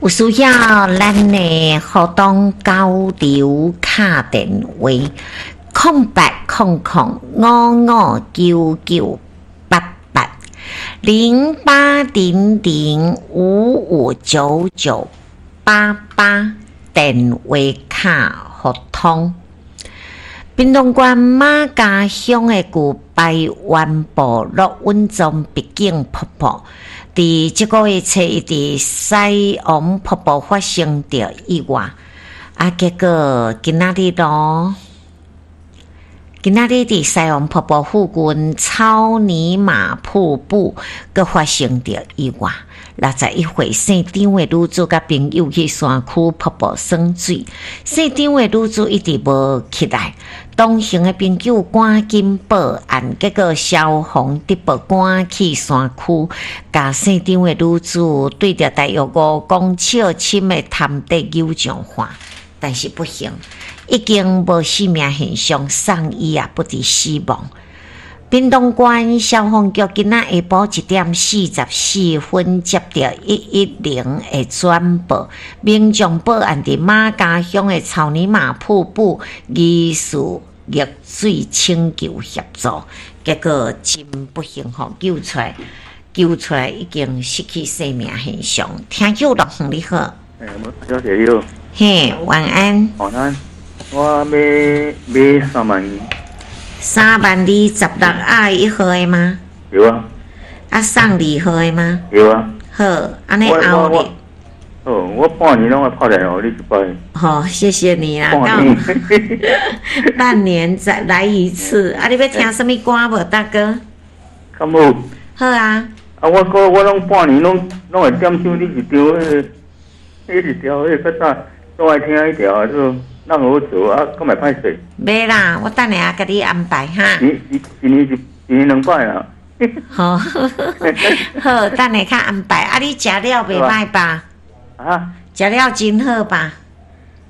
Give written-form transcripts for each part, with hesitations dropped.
有需要咱的活動交流敲電話，0800559988，0800559988，電話敲互通。屏東縣瑪家鄉的舊排灣部落穩裝畢竟瀑布，佇這個月初一佇西王瀑布發生著意外，啊，結果今仔日囉，今仔日佇西王瀑布附近草泥馬瀑布閣發生著意外。61歲姓張的女子佮朋友去山區瀑布耍水，姓張的女子一直無起來，同行的朋友趕緊報案，結果消防得報趕去山區，共姓張的女子對著大約5公尺深的潭底游上岸，但是不幸已經無生命現象，送醫也不治死亡。屏東縣消防局今仔下晡1點44分接著110的轉報，民眾報案佇瑪家鄉的草泥馬瀑布疑似溺水，請求協助。結果真不幸吼，救出來，救出來已經失去生命現象。聽友樂你好，欸，小姐你好，嘿，晚安。晚安，我欲買3萬。3萬二十六仔一號的嗎？有啊。啊，送二號的嗎？有啊。好，按呢後日。哦，我半年攏愛拍電話予你一擺。好，謝謝你啦。半年。半年再來一次。啊，你欲聽啥物歌無，大哥？敢有？好啊。啊，我閣我攏半年攏攏會點唱你一張彼个，彼一條彼個較早攏愛聽彼條啊，做咱好做啊，閣會歹勢。袂啦，我等下共你安排哈。一一一年一一年兩擺啦。好，好，等下較安排。啊，你食了袂歹吧？啊？食了真好吧？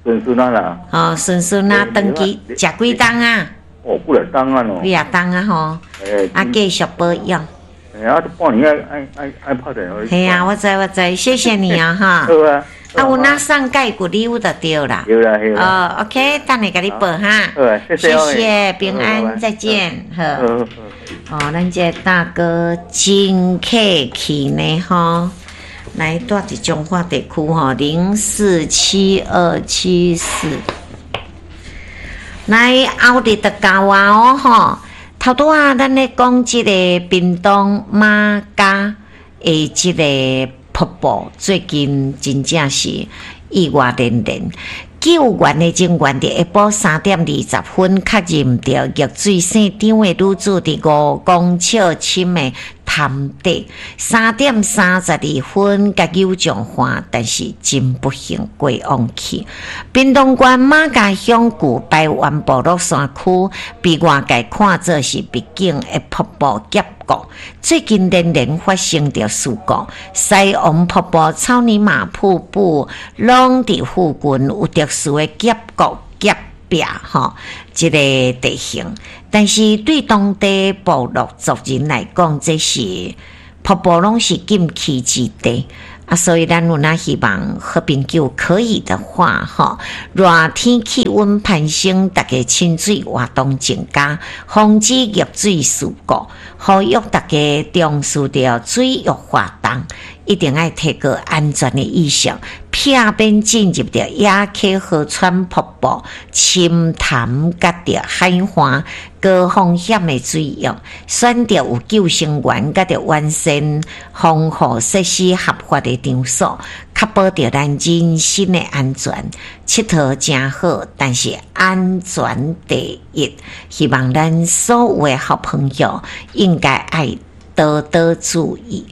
順順啊啦。哦，順順啊，轉去食幾冬啊？哦，幾若冬啊囉。幾若冬啊吼。欸。啊，繼續保養。欸啊，半年愛愛愛愛拍電話。嘿啊，我知我知，謝謝你啊哈。好啊。啊，有哪送蓋骨禮物就對啦。對啦對啦。哦，OK，等下共你報哈。好啊，謝謝。謝謝，平安，再見。好。哦，咱這個大哥真客氣呢吼。來，住佇彰化地區吼，047274。來，後日就到啊哦吼。頭拄仔咱咧講這個屏東瑪家的這個瀑布，最近真正是意外連連。救援的人員佇下晡3點20分確認著溺水姓張的女子佇5公尺深的潭底，3點32分共救上岸，但是真不幸過往去。屏東縣瑪家鄉舊排灣部落山區，被外界看做是秘境的瀑布峽谷，最近連連發生著事故，西王瀑布、草泥馬瀑布，攏佇附近有特殊的峽谷峽壁吼，這個地形。但是對當地部落族人來講，這是瀑布攏是禁區之地啊，所以咱有哪希望好朋友可以的話，吼，熱天氣溫攀升，大家親水活動增加，防止溺水事故，呼籲大家重視著水域活動，一定愛提高安全的意識，避免進入著野溪河川瀑布、深潭佮著海岸高風險的水域，選擇有救生員佮著完善防護設施合法的場所，確保著咱人身的安全。𨑨迌誠好，但是安全第一。希望咱所有的好朋友應該愛多多注意。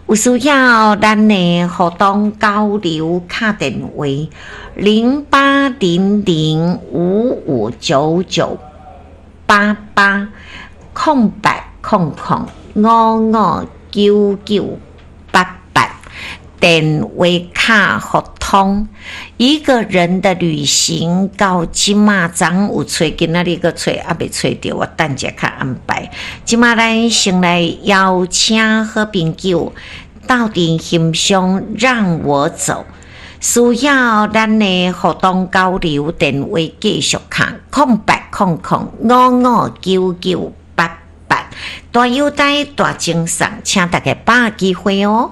有需要咱的活動交流敲電話0800559988，0800559988，電話敲互通。一個人的旅行到這馬昨有揣，今仔日閣揣，猶未揣著，我等者較安排。這馬咱先來邀請好朋友鬥陣欣賞《讓我走》。需要咱的互動交流電話繼續敲0800559988，大優待大贈送，請大家把握機會哦。